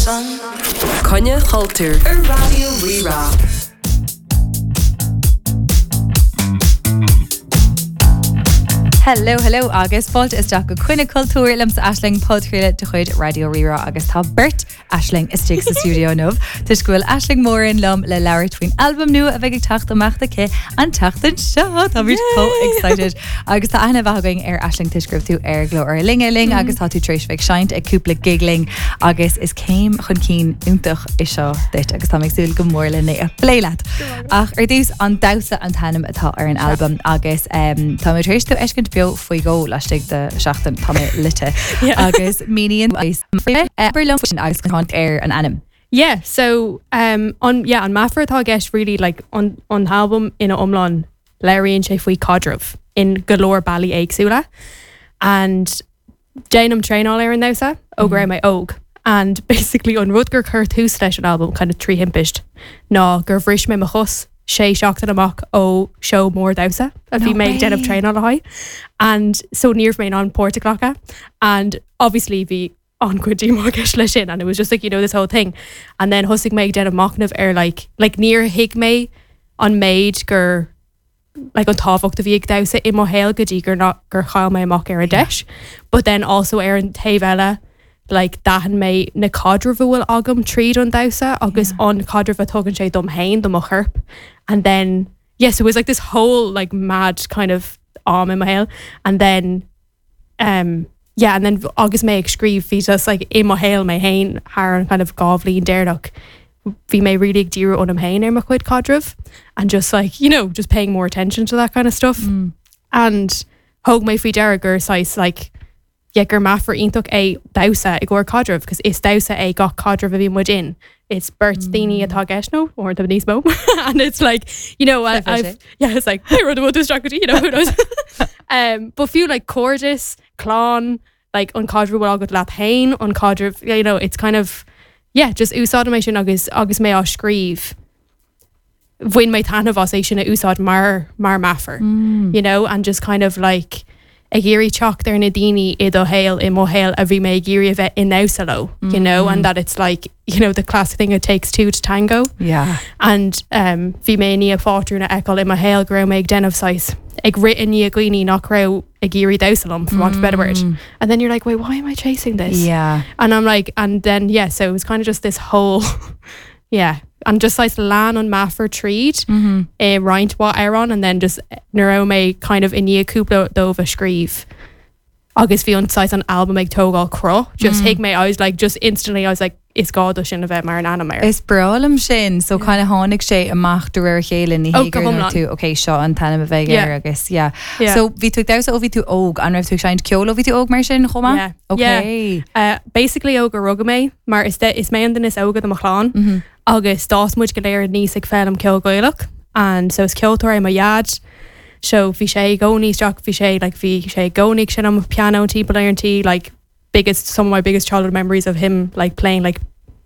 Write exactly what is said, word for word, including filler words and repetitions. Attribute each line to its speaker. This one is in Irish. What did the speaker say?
Speaker 1: Coinne Chultúir ar Raidió Rí-Rá.
Speaker 2: Hello, hello agus fáilte isteach go Coinne Cultúir liomsa Aisling podchraoladh de chuid Raidió Rí-Rá agus tá beirt Aisling istigh sa stiúideo inniu. Toisc go bhfuil Aisling Moran liom le labhairt faoin albam nua a bheidh ag teacht amach aici an tseachtain seo. Táimid chomh excited. Agus tá aithne mhaith againn ar Aisling toisc go raibh tú ar Glór Linne linn agus tá tú tar éis bheith ag seinnt ag cúpla gig linn agus is céim chun cinn iontach é seo duit agus tá mé ag súil go mór lena a phlé leat. Ach ar dtús an damhsa an t-ainm atá ar an albam agus um, tá mé tar éis tú a fheiscint beo faoi dhó laistigh de seachtain tá mé lite agus míníonn liom sin agus ar an ainm.
Speaker 3: Yeah, so um, an, yeah, an meafar atá i gceist really like, an, an album ina iomlán léiríonn sé faoi caidreamh in go leor bealaí éagsúla and déanaim traenáil ar an damhsa ó go raibh mé óg and basically an rud gur chuir tús leis an album kind of trí thimpist ná gur bhris mé mo chos sé seachtain amach ó seó mór damhsa a bhí mé ag déanamh traenáil le haghaidh and so ní raibh mé in ann páirt a ghlacadh and obviously bhí an-chuid díomá i gceist leis sin and it was just like you know this whole thing and then thosaigh mé ag déanamh machnamh ar like like níor thuig mé an méid gur like an tábhacht a bhí ag damhsa i mo shaol go dtí gur ná gur chaill mé amach ar an deis but then also ar an taobh eile like d'aithin mé na caidrimh a bhfuil agam tríd an damhsa agus an caidreamh a tugann sé dom féin do mo chorp and then yes it was like this whole like mad kind of am i mo shaol and then um yeah and then agus mé ag scríobh bhí just like i mo shaol mé féin thar an kind of dhá bhliain deireanach bhí mé really ag díriú ionam féin ar mo chuid caidreamh and just like you know just paying more attention to that kind of stuff mm. and thug mé faoi deara gur saghas like yeah gur meafar iontach é damhsa i gcomhair caidreamh cos is damhsa é gach caidreamh a bhí muid in it's beirt mm. daoine atá i gceist nó or tá níos mó and it's like you know I, I've yeah it's like hey rud you know who knows um but fiú like cairdeas clann like an caidreamh a bhfuil agat leat féin an caidreamh you know it's kind of yeah just úsáidim é sin agus agus mé á scríobh bhain mé taitneamh as é sin a úsáid mar mar meafar mm. you know and just kind of like ag iarraidh teacht ar na daoine i do shaol i mo shaol a bhí mé ag iarraidh a bheith i ndamhsa leo mm. you know and that it's like you know the classic thing it takes two to tango
Speaker 2: yeah
Speaker 3: and um bhí mé i ndiaidh pátrún a fheiceáil i mo shaol go raibh mé ag déanamh saghas ag rith i ndiaidh dhaoine nach raibh ag iarraidh damhsa liom for want of a better word mm. and then you're like wait why am I chasing this
Speaker 2: yeah
Speaker 3: and I'm like and then yeah so it was kind of just this whole yeah and just saghas lean an meafar tríd mm -hmm. i roinnt mhaith amhrán and then just nuair a raibh mé kind of i ndiaidh cúpla dóibh a scríobh agus bhí an saghas an album ag tógáil cruth just mm. thuig mé I was like just instantly I was like is gá do sin a bheith mar an ainm air.
Speaker 2: Is breá liom sin so kind of tháinig sé amach de réir a chéile ní
Speaker 3: Oh,
Speaker 2: hé
Speaker 3: go
Speaker 2: gur
Speaker 3: hiomlán.
Speaker 2: tú ok seo an t-ainm a bheidh
Speaker 3: Yeah.
Speaker 2: air agus yeah.
Speaker 3: Yeah.
Speaker 2: So bhí tú ag damhsa ó bhí tú óg an raibh tú ag seinnt ceoil ó bhí tú óg mar sin chomh maith?
Speaker 3: Yeah.
Speaker 2: Ok.
Speaker 3: Uh, basically ó gur rugadh mé mar is, de, is mé an duine is óige de mo chlann mm -hmm. agus d'fhás muid go léir aníos ag foghlaim ceol Gaelach and so is ceoltóir é mo dhaid so bhí sé i gcónaí isteach bhí sé like bhí sé i gcónaí ag seinm pianó timpeall ar an tí like biggest some of my biggest childhood memories of him like playing like